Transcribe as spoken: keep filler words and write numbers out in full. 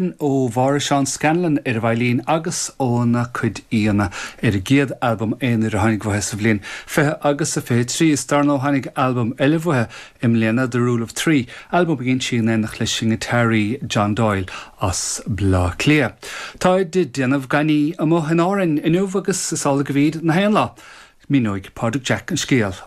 Ó Mháire Seán Scanlon ar an veidhlín agus óna cuid aíonna ar a gcéad albam aonair a tháinig uathu sa bhliain fiche agus a fiche trí. Is dar ndóigh tháinig albam eile uathu i mbliana The Rule of Three, albam a dhein sí in éineacht leis an ngiotáraí John Doyle as Baile Átha Cliath. Tá ag déanamh gainní amuigh in Árainn inniu agus is amhlaidh a bhí na haon lá. Míneoidh Pádraig Jack an scéal.